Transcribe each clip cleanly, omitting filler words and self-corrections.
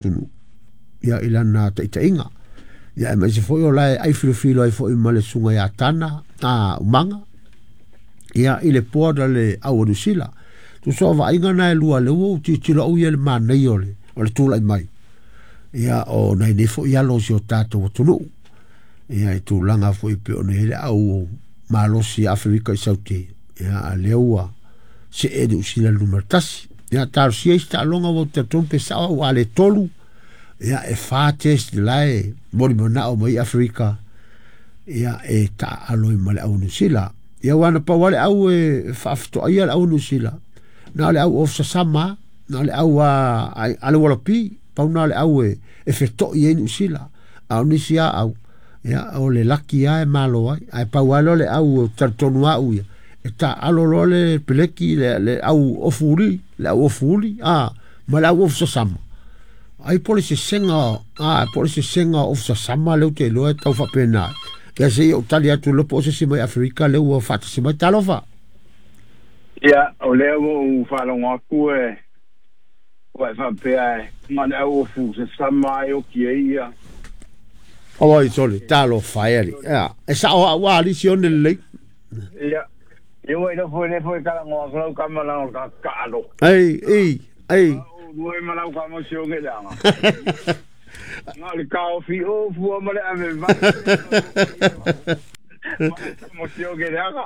Atunuu ia i lana taʻitaʻiga. Ia aemaise foi o lae ai filofilo ai foi ma le susuga ia Tana a Umaga ia i le board a le au a Niu Sila. Tusa o vaaiga na e lua lea ua ou tilotilo au ia i le manaia o le tula'i mai ia o nai nei foi alo o si o tatou atunuu ia i tulaga foi pei ona i ai le au malosi Aferika i Saute ia a lea ua see Niu Sila numera 1. Ia talosia isi taaloga ua ou talitonu pe sa'o a'u a le tolu ia e fa test lae molimana'o mai Aferika ia e taaalo ai ma le au Niu Sila. Ia ua na pau lava le au e faafetoaia le au Niu Sila na o le au off sasama na o le au a le Ualapi pau na o le au e feto'i ai Niu Sila a o nisi a au ia o le laki lava e malo ai ae pau lava lea o le au talitonu a'u ia e taaalo loa le peleki le au ofu uli le au ofu uli a ma le au ofu sasama ai po o le sesega a po o le sesega ofu sasama lea ou te iloa e tau faapena. Ia se i ou tali atu loa po o se isi mai Aferika lea ua faatasi mai. Talofa. Ia, o lea ua ou faalogo atu e ua e faapea e na o le au ofu sasama ai oki ai ia. Oi sole talofa e ali ia e sa'o a'u a alisi one lelei. Ia, ia ua iloa foi lea foi talanoa atu lau tama leaga o le tagata taalo. Ei ei ei. A o lua ma lau tama si oge leaga. Na o le taofi o fua ma le ave vai. Ma si oge leaga.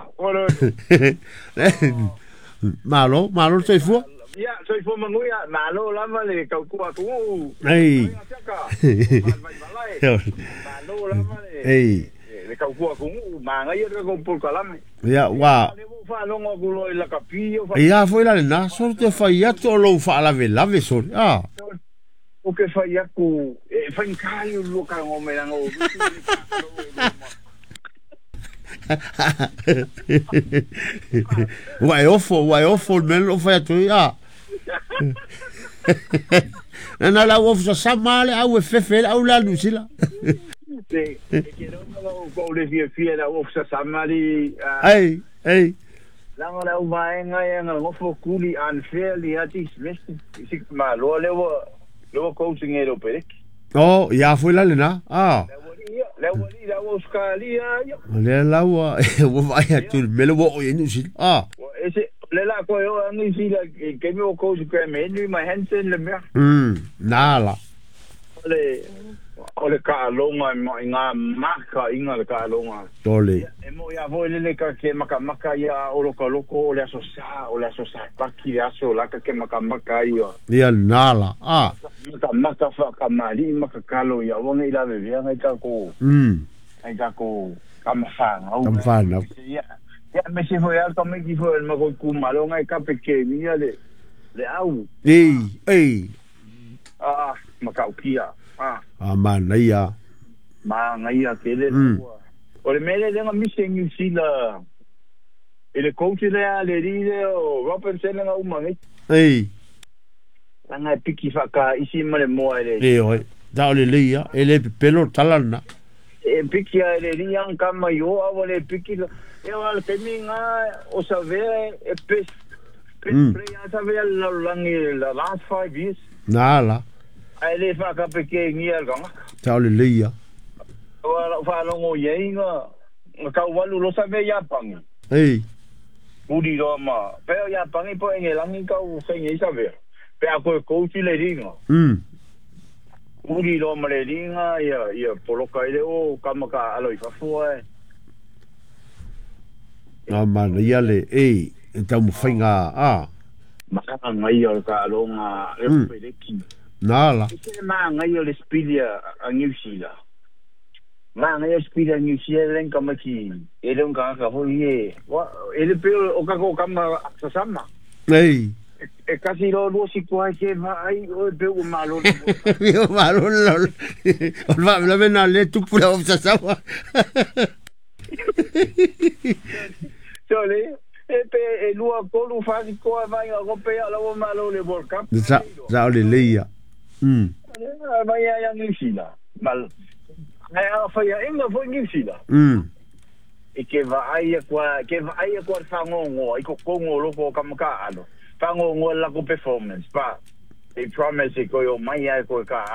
Malo malo le soifua. Ia, soifua manuia, malo lava le tautua atunuu. Ei. Malo lava le Ei. le tautua atunuu, manaia le tatou polokalame. Ia ua. Lea ua ou faalogo atu loa i lakapi o Ia foi la lena sole te fai atu o lou faalavelave sole a. Ou te fai atu e faigata ia o lua talanoa mai leaga o Lutu le taalo e lua ma. Ua e ofo ua e ofo le mea lea na ou fai atu ai a. Na le au ofu sasama le au e fefe ai le au lea a Niu Sila. Te e te iloa na ou le fiafia i le au ofu sasama alii. Ei ei. Leaga o le au vaega ia na nofo tuli unfairly lava dismissed i si tamaloa lea ua lea ua coaching e le Peleki. Oh, ia foi la lena. Ah. Le aualii ia, le aualii le au Ausetalia ia. O lea la ua ua vaai atu i le mea lea ua oo i ai Niu Sila. Ah. Ua ese, o lea o le a toe oo lava Niu Sila i le taimi o coach Graham Henry ma Hansen le mea. Na la. O le o le taaloga e i ngā makaiga le taaloga. Tole. Ia, e moni lava foi lele ta te makamaka ia a o lokaloko o le aso Sa, o le aso Sapati le aso la ta te makamaka ai ia. Ia na la. Ah. Makamaka faatamalii ma tatalo ia aua nei lavevea nai tatou nai tatou tama fanau. Tama fanau. Ia, ia aemaise foi lava le tamaiti foi o le matou itumalo na e tape kemia le le au. Ei, ei. Ah, matautia. Ah. A manaia. Manaia tele la ua. O le mea lea lea na misi e Niu Sila i le coach lea le alii lea o Robinson lea na uma nei. Ei. Leaga e piki faataisi ma le moa e le. E oi. Da o le lei a, e le pepelo le tala lena. E piki a e le alii ana tama i o a ua le piki la. E o le taimi lena o Savea e best best player a Savea i le lalolagi the last 5 years. Na la. Ae le faakapekegia e le tagata. Sao lelei ia. Aua lau faalogo i ai na na tau alu loa Savea i Iapani. Ei. Uli loa ma pea o Iapani po o Engelagi tau saini ai Savea pe a toe coach le liga. Uli loa ma le liga ia ia poloka ai le o kama taaalo i fafo ae. Na manaia le ei e taumafaiga a. Manaia o le taaloga e Peleki. Na la. E se manaia o le sipili a Niu Sila. Manaia o le sipili a Niu Sila le tamaiti e le o ni tagata foi e e le pei o tatou tama sasama. Ei. E tasi loa lua siku ai ke vaai oe pe ua malo le Ua malo le o le faalavelave lena lea e tupu le au sasama. Sole, e pe e lua tolu fa sikoa vai nga ko pe ala ua malo le World Cup. Sa sa o lelei ia. Vai ia Niu Sila. Mal ai a faiaʻiga foi Niu Sila. E ke vaai aku a ke vaai aku a le fagogoa i totonu o loko o kama taaalo fagogoa le latou performance pa. They promise e koe o mai ai koe ka.